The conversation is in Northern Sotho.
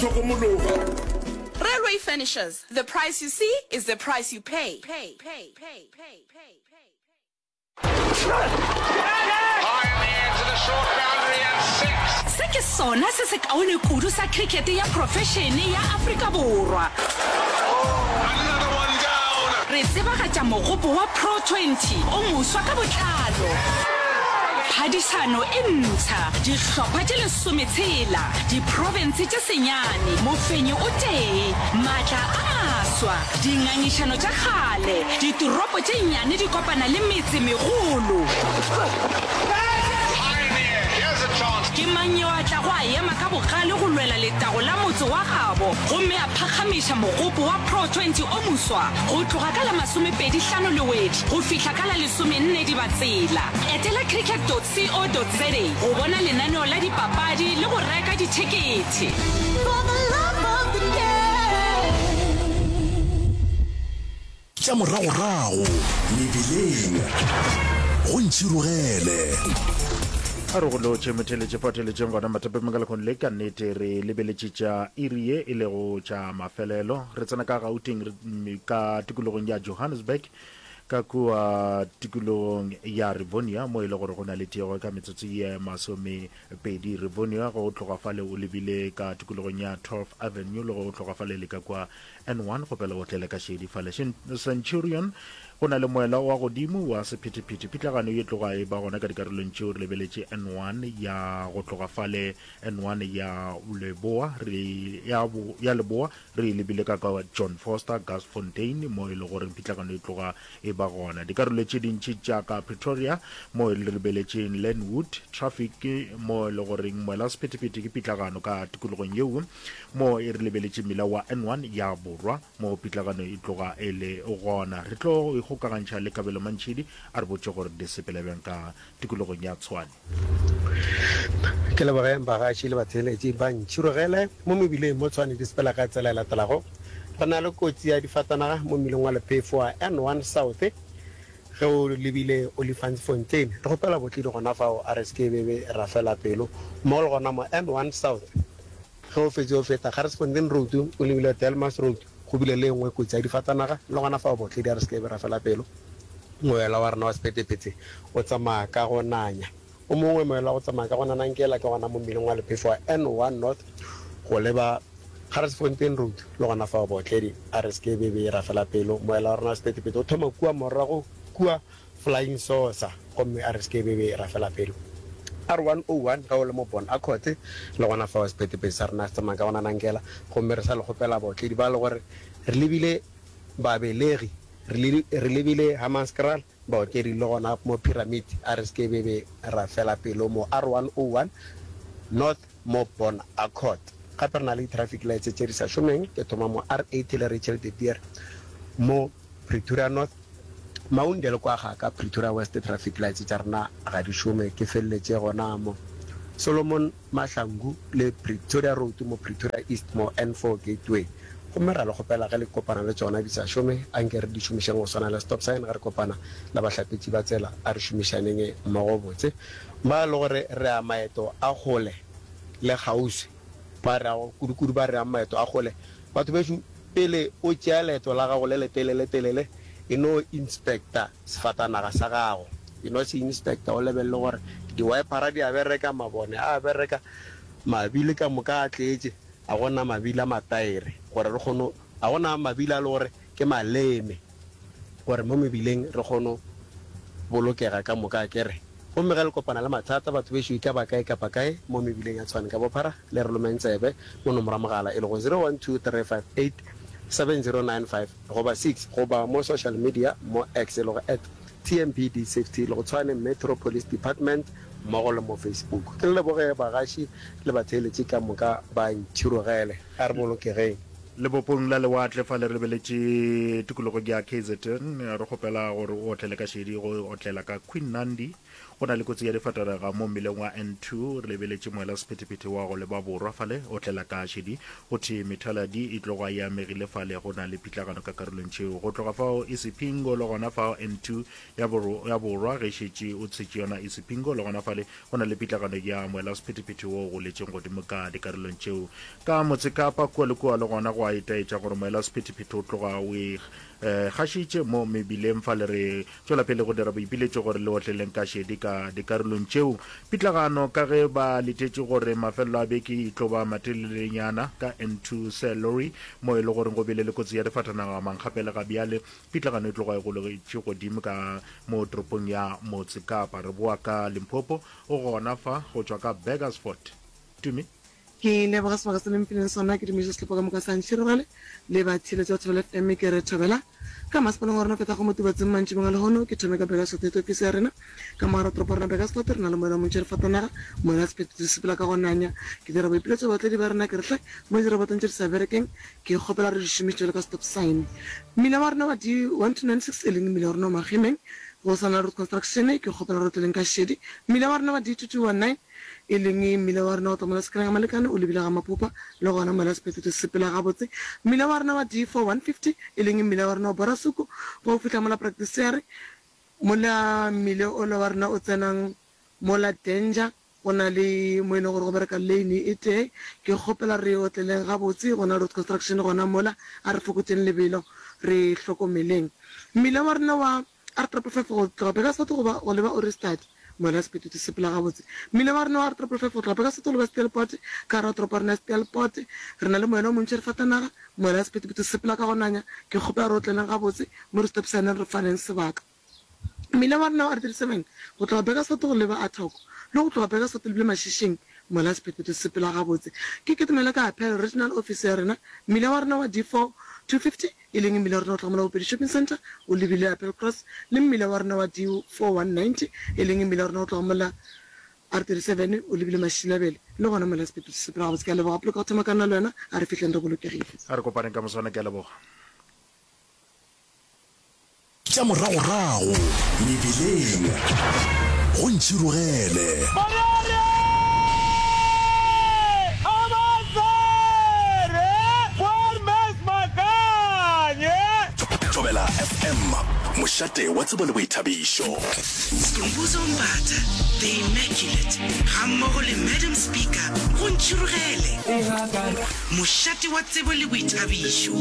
Hlokomologa. Railway Furnishers, the price you see is the price you pay. Se ke sona se sekaone kudu sa khrikete ya profešene ya Afrika Borwa. Re tsebagatša mogopo wa Pro 20 o moswa ka botlalo. Phadišano e mpsha, dihlopha tše lesometshela, diprofense tše senyane, mofenyi o tee, maatla a maswa, dingangišano tša kgale, ditoropo tše nnyane di kopana le metse megolo. Ke mang yo a tlago a ema ka bogale go lwela letago la motse wa gabo gomme a phakgamiša mogopo wa Pro 20 o moswa go tloga ka la masomepedi-hlano Lewedi go fihla ka la lesomenne Dibatsela? Etela cricket.co.za go bona lenaneo la dipapadi le go reka dithekethe. Tša moragorago mebileng go ntšhirogele. A re go lotšhe motheeletše fa theeletšeng gona mathapemeng ka lekgono le ka nnete re lebeletše tša iri ye e lego tša mafelelo. Re tsena ka Gauteng ka tikologong ya Johannesburg ka kua tikologong ya Rivonia mo e le gore go na le tiego ka metsotso ye masomepedi. Rivonia go tloga fale o lebile ka tikologong ya 12 Avenue le go tloga fale le ka kua N1 kgopela o tlele ka šedi fale. Centurion go na le moela wa godimo wa sephethephethe. Pitlagano ye tloga e ba gona ka dikarolong tšeo re lebeletše N1 ya go tloga fale N1 ya leboa re ya, ya leboa re e lebile ka ka John Foster Gasfontein mo e le gore pitlagano e tloga e ba gona. Dikarolo tše dintši tša ka Pretoria mo e re lebeletšeng Lenwood traffic mo e le goreng moela wa sephethephethe ke pitlagano ka tikologong yeo Mo e re lebeletše mmila wa N1 ya Borwa, mo pitlagano e tloga e le gona. Re tlo ikgokagantšha le Kabelo Mantšhidi a re botše gore di sepela bjang ka tikologong ya Tshwane. Ke leboge bagaši le batheeletši ba ntšhirogele mo mebileng mo Tshwane di sepela ka tsela e latelago. Re na le kotsi ya difatanaga mo mmileng wa lephefo wa N1 South ge o lebile Olifantsfontein. Re kgopela botledi gona fao a re se ke be be ra fela pelo. Mmogo le gona mo N1 South Ge o fetše o feta Garsfontein Road o lebile Delmas Road, go bile le e nngwe kotsi ya difatanaga, le gona fao botledi a re se ke be ra fela pelo. Moela wa rena wa sephethephethe o tsamaya ka go nanya. O mongwe moela wa go tsamaya ka go nanankela ke gona mo mmileng wa lephefo wa N1 North go leba Garsfontein Road, le gona fao botledi a re se ke be be ra fela pelo. Moela wa rena wa sephethephethe o thoma kua morago kua Flying Saucer, gomme a re se ke be be ra fela pelo. R101 ge o le mo Bon Accord, le gona fao sephethephethe sa rena se tsamaya ka gona nankela, gomme re sa le kgopela baotledi ba le gore re lebile Babelegi, re re lebile Hammanskraal, baotledi le gona mo Pyramid, a re se ke be be ra fela pelo mo R101 North mo Bon Accord. Gape re na le di-traffic lights tše di sa šomeng, ke thoma mo R80 le Rachel de Beer mo Pretoria North, Maunde le kwa ga ka Pretoria West traffic lights tša rena ga di šome, ke feleletše gona mo Solomon Mahlangu le Pretoria Road mo Pretoria East mo N4 Gateway. Gomme ra le kgopela ge le kopana le tšona di sa šome, anke re di šomišeng go swana le stop sign ge re kopana le bahlapetši ba tsela, a re šomišaneng mmogo botse. Ba le gore re ya maeto a kgole le kgauswi, ba re yago kudu-kudu ba re yang maeto a kgole, batho bešo pele o tšea leeto la gago le letelele-telele, E no inspecta sefatanaga sa gago. E no se inspecta, o lebelele gore di-wipera di a bereka, mabone a bereka, mabili ka moka a tletše, a go na mabili a mataere gore re kgone, a go na mabili a le gore ke maleme gore mo mebileng re kgone bolokega ka moka, akere. Gomme ge le kopana le mathata, batho bešo e ka ba kae kapa kae mo mebileng ya Tshwane ka bophara, le re lomeng tsebe mo nomoro ya mogala e lego 0123587095 goba 6 goba mo social media mo X e lego at TMPD Safety le go Tshwane Metro Police Department mmogo le mo Facebook. Ke le leboge bagaši le batheeletši ka moka ba ntšhirogele. A re bolokegeng. Lebopong la lewatle fa le re lebeletše tikologong ya KZN, re kgopela gore o otlele ka šedi go otlela ka Queen Nandi. Go na le kotsi ya difatanaga mo mmileng wa N2 re lebeletše moela sephethephethe wa go leba borwa fale o tlela ka šedi. Go thwe methaladi e tloga e amegile fale go na le pitlagano ka karolong tšeo. Go tloga fao Isipingo le gona fao N2 ya ya borwa ge šetše o tshetše yona Isipingo le gona fale go na le pitlagano ya moela sephethephethe wo o goletšeng godimo ka dikarolong tšeo. Ka Motsekapa kua le kua le gona go a itaetša gore moela sephethephethe o tloga o e gašitše mo mebileng fale re Tšwela pele go dira boipiletšo gore le otleleng ka šedi ka dikarolong tšeo. Pitlagano ka ge ba letetše gore mafelelo a beke e tlo ba matelelenyana ka N2 Sir Lowry mo e le goreng go bile le kotsi ya difatanaga mankgapele ga bjale. Pitlagano e tloga e golegetše godimo ka mo toropong ya Motse Kapa. Re boa ka Limpopo o gona fa go tšwa ka Burgersfort. Tumi. Ke leboga sebaka se le mphileng sona, ke dumiša sehlopha ka moka sa Ntšhirogale le batheeletši ba Thobela FM. Ke re thobela ka masepaleng wa rena o fetago mo Tubatseng mantšibong a lehono. Ke thome ka Burgersfort Head Office ya rena. Ka mo gare ga toropo ya rena Burgersfort re na le moela o montši re fatanaga, moela wa sephethephethe se sepela ka go nanya. Ke dira boipiletšo go baotledi ba rena ke re hle mo dirobotong tše di sa berekeng ke kgopela re di šomiše bjalo ka stop sign. Mmila wa rena wa D1296 e leng mmila wa rena wa Magemeng go sa na le road construction ke kgopela re otleleng ka šedi. Mmila wa rena wa D2219 e leng mmila wa rena wa tloga mola Sekeleng ga Malekane o lebile ga Maphopha, le gona mola sephetetšo se sepela gabotse. Mmila wa rena wa D4150, e leng mmila wa rena wa Borasuku, go fihla mola Praktiseer, mola mmile ola wa rena o tsenang mola Danger, go na le mo e leng gore go bereka lane e tee. Ke kgopela re otleleng gabotse, go na le road construction gona mola, a re fokotšeng lebelo, re hlokomeleng. Mmila wa rena wa. R triple five go tloga Burgersfort go ba go leba Ohrigstad, mola sephetetšo se sepela gabotse. Mmila wa rena wa R triple five go tloga Burgersfort go leba Steelpoort, ka gare ga toropo ya rena ya Steelpoort, re na le moela o montši re fatanaga, mola sephetephete se sepela ka go nanya. Ke kgopela re otleleng gabotse mo re stop-sign-eng re faneng sebaka. Mmila wa rena wa R 37 go tloga Burgersfort go leba Athoko le go tloga Burgersfort lebile Mashishing, mola sephetephete se sepela gabotse. Ke kitimele ka Apel Regional Office ya rena, mmila wa rena wa D4 250 e leng mmila wa rena o tloga mola Bopedi Shopping Centre o lebile Applecross, le mmila wa rena wa D4190, e leng mmila wa rena o tloga mola R37 o lebile Mašilabele, le gona mola sepheto se sepela gabotse. Ke a leboga Poloko go thoma ka nna le wena, a re fihleng re bolokegile. A re kopaneng ka moswana, ke a leboga. Tša moragorago mebileng go ntšhirogele. Thobela FM, mošate wa tsebo le boithabišo. Skhumbuzo Mbatha, The Immaculate, gammogo le Madam Speaker go Ntšhirogele, mošate wa tsebo le boithabišo.